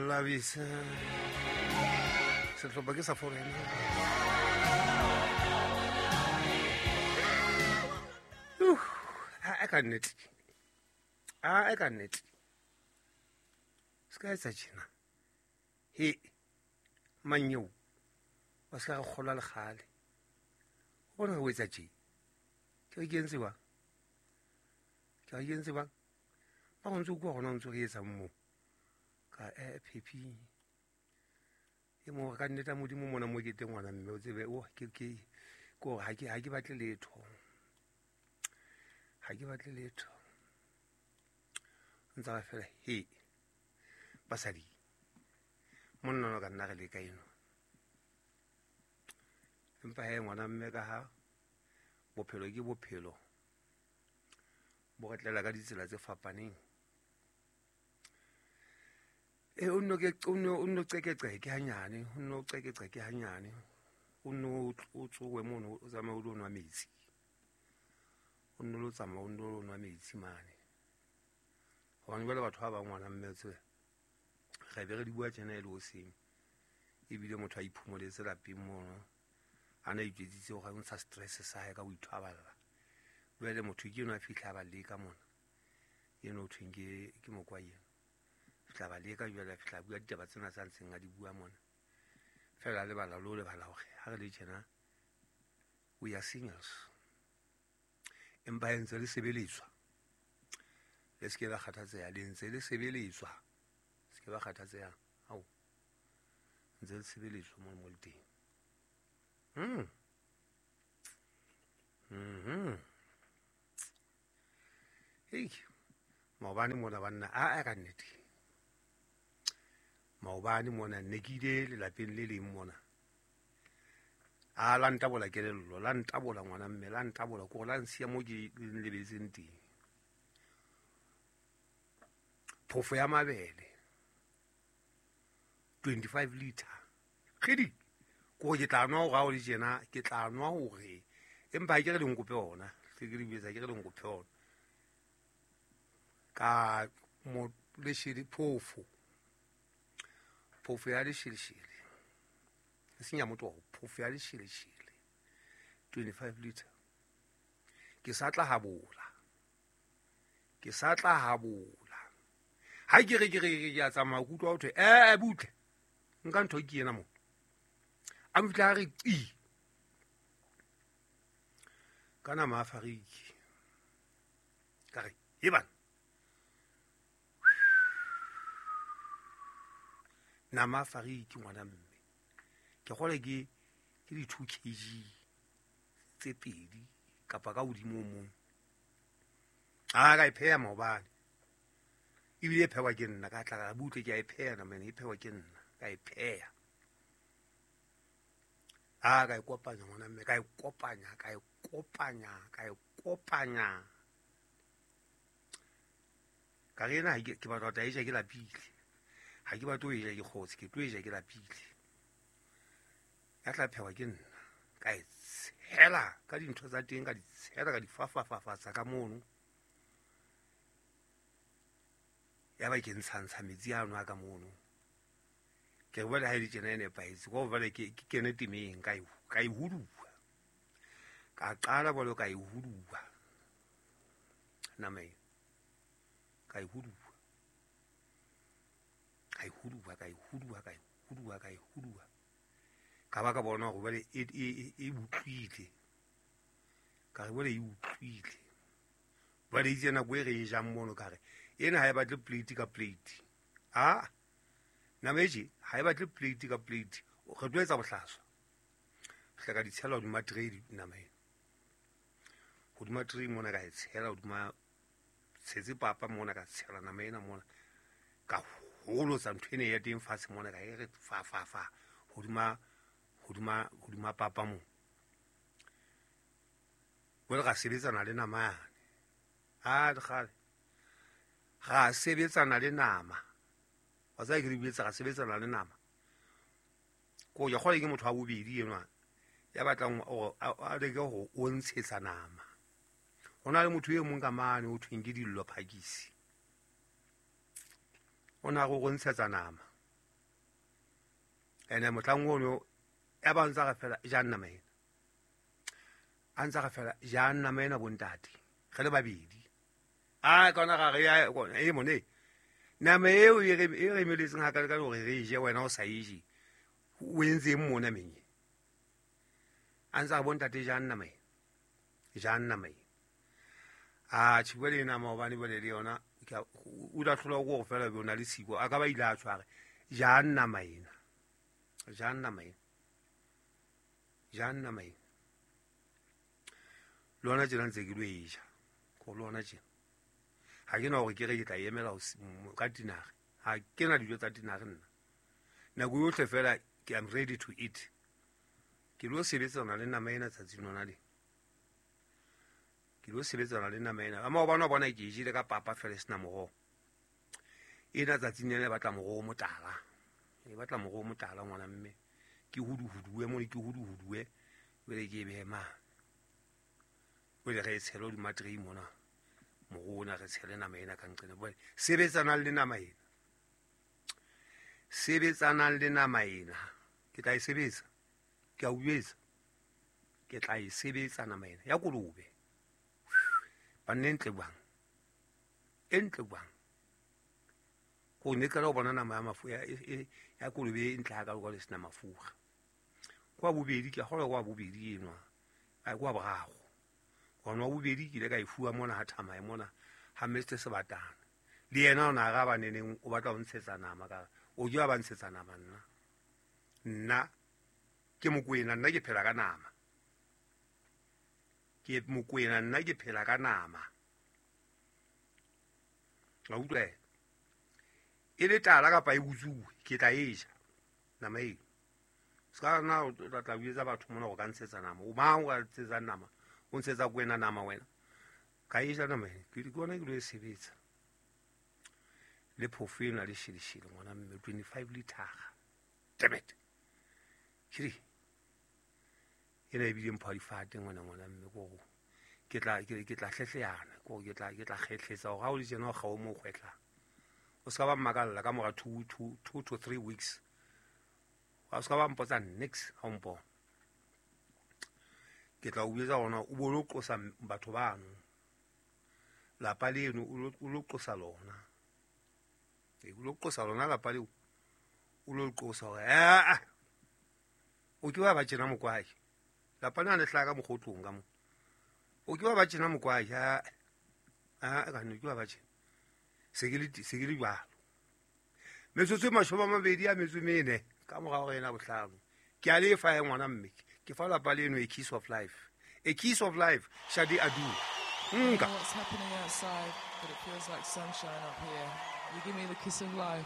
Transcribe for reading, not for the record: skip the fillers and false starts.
Labisa sehlopha ke sa foreign. A ka nnete, a ka nnete se ka etsa tjena. He manyeo wa se ka re kgolwa lekgale o bona o etsa tje. Ke re ke entse bang, ke re ke entse bang ba go ntse o kua gona o ntse re etsang moo ka phephi e mo ka nnete modimo mona mo ke teng ngwana mme o tsebe o ke gore ha ke batle letho, ha ke batle letho. Ntse ba fela he basadi monna no ka nna re leka eno. Empa he ngwana mme ka ha bophelo ke bophelo bo re tlela ka ditsela tse fapaneng. E o nno qekeqeke hanyane, o nno qekeqeke hanyane, o nno o tsowe mono o tsamaye o lo nwa metsi, o nno lo tsamaya o nno lo nwa metsi mane. Hobane jwale batho ba bang ngwana mme tsebe re be re di bua tjena e le hoseng, ebile motho a iphumoletse lapeng mono a na itjwetsitse hore o ntsha stress sa hae ka ho ithwaballa. Jwale motho ke enwa a fihla a ba leka mona, eno ho thweng ke mokwa eno. Fihla ba leka jwale, a fihla a bua ditaba tsena tsa ntseng a di bua mona. Fela lebala lo lebala hore ha re le tjena we are singles. Empa e ntse le sebeletswa, le se ke la kgathatseha, le ntse le sebeletswa, se ke ba kgathatseha. Ao ntse le sebeletswa mo mo le teng. Hei maobane mona banna a ka nnete. Maobane mona ne ke ile lelapeng le leng mona. A la ntabola kelello, la ntabola ngwana mme, la ntabola ko la nsiya mo ke lebetseng teng. Phofo ya mabele 25 liter. Kgidi ko ke tla nwa hore ha o le tjena, ke tla nwa hore empa ha ke re le nkope ona, ke re betsa ke re le nkope ona. Ka mo leshele phofo. Phofo ya lesheleshele. E seng ya motoho, phofo ya lesheleshele 25 liter. Ke sa tla habola. Ke sa tla habola. Ha ke re ke a tsamaya ke utlwa ho thwe butle. Nka ntho ke ena mo. A mfihla a re qi. Ka nama a fariki. Ka re e bana. Nama a fariki ngwana mme. Ke kgole ke di 2 kg tse pedi kapa ka hodimo mong. A ka e pheha maobane. Ebile e phehwa ke nna, ka tla ka butle ke a e pheha nama ena, e phehwa ke nna, ka e pheha. A ka e kopanya ngwana mme, ka e kopanya, ka e kopanya, ka e kopanya. Ka re ena ke batla ho tla e ja ke lapile. Ha ke batle ho e ja ke kgotse, ke tlo e ja ke lapile. Ya tla phehwa ke nna. Ka e tshela ka dintho tsa teng, ka di tshela, ka di fafafafatsa ka mono. Ya ba ke ntshantsha metsi ano a ka mono. Ke re jwale ha e le tjena e nepahetse, ka hobane ke kene temeng ka e huduwa. Ka qala jwalo ka e huduwa nama ena. Ka e huduwa. Ka e huduwa, ka e huduwa, ka e huduwa, ka e huduwa. Ka ba ka bona hore jwale e utlwile. Ka re jwale e utlwile. Jwale itse nako e re e jang mono ka re ena ha e batle plate ka plate. A nama e tje ha e batle plate ka plate. Re tlo etsa bohlaswa. Fihla ka di tshela hodima tray nama ena. Hodima tray mona ka e tshela hodima tshetse papa mona ka tshela nama ena mona. Ka holotsa ntho ena ya teng fatshe mona ka e re fa fa fa hodima hodima hodima papa mo. Jwale ra sebetsana le nama yane. A kgale. Ra sebetsana le nama. Wa tseba ke re buetse ra sebetsana le nama. Ko ya kgole ke motho wa bobedi enwa ya batlang hore a leke ho o ntshetsa nama. Ho na le motho e mong ka mane ho thweng ke Dillo Phakisi. O na go ntshetsa nama. Ene mohlang ono ya ba ntsa re fela ja nama ena. A ntsa re fela ja nama ena bontate. Re le babedi. A kona ga re ya kona e mone. Nama eo e re emeletseng ha ka ka hore re je wena o sa e je. O entseng mona menye. A ntsa bontate ja nama ena. Ja nama ena. A tjhe nama hobane bole le yona o la hlola go fela be ona le siko a ka ba ile a tshware ja nama ena. Ja nama ena. Ja nama ena. Lona tjena ntse ke lo e ja. Ko lona tjena. Ha ke na hore ke re ke tla emela ka tinare. Ha ke na dijo tsa tinare nna. Nako yohle fela ke am ready to eat. Ke lo sebetsana le nama ena tsatsing lona le. Ke lo sebetsana le nama ena. Ama o bona ke jile ka papa fela sena moroho. Ena tsatsing lena batla moroho motala. E batla moroho motala ngwana mme. Ke huduhuduwe mo ke huduhuduwe. Bele ke be ma. Bele re tshelo di matrei mona. Moroho na re tshele nama ena ka nqene. Bele sebetsana le nama ena. Sebetsana le nama ena. Ke tla e sebetsa. Ke a uetsa. Ke tla e sebetsa nama ena. Ya kolobe. Ba ntle bang. Entle bang. Ko ne ka lo bona nama ya mafu ya kolobe e ntle ha ka lo le sena mafura. Kwa bobedi ke gola kwa bobedi enwa. A kwa boraro. Gona bobedi ke ile ka e fuwa mona ha thama e mona ha Mr Sebatana. Le yena o na ga ba neneng o batla ho ntshetsa nama ka o ja ba ntshetsa nama nna. Nna ke Mokwena nna ke phela ka nama. Ke Mokwena nna ke phela ka nama. La utlwa. E le tala kapa e butsuwe ke tla e ja nama eo. Ska na o tla buetsa batho mona go ka ntshetsa nama. O mang o ka ntshetsa nama? O ntshetsa kwena nama wena. Ka e ja nama e. Ke di bona ke lo e sebetsa. Le phofo ena le shilishile ngwana mme 25 litara. Damn it. Kiri. Ena e bile mpho difate ngwana ngwana mme go ke tla hlehleyana go ke tla kgehletsa hore ha o le tjena o kgao mo kgwetla. O ska ba mmakalla ka mora 2 to 3 weeks. O ska ba mpotsa next ha o mpona. Ke tla o buetsa hona o bo lo qosa batho bano. Lapa leno o lo qosa lona. E o lo qosa lona lapa leo. O lo qosa hore o ke wa ba tjena mokwai. Lapa lena le hlaka mokgotlong ka mo. O ke wa ba tjena mokwai ha ka no ke wa ba tjena. Se ke le jwalo. Metsotso e 24 ka mora hore ena bohlano. Ke a lefa ya ngwana mme. Ke fa lapa leno a kiss of life. A kiss of life, Shadi Adu. Nka. What's happening outside, but it feels like sunshine up here. You give me the kiss of life.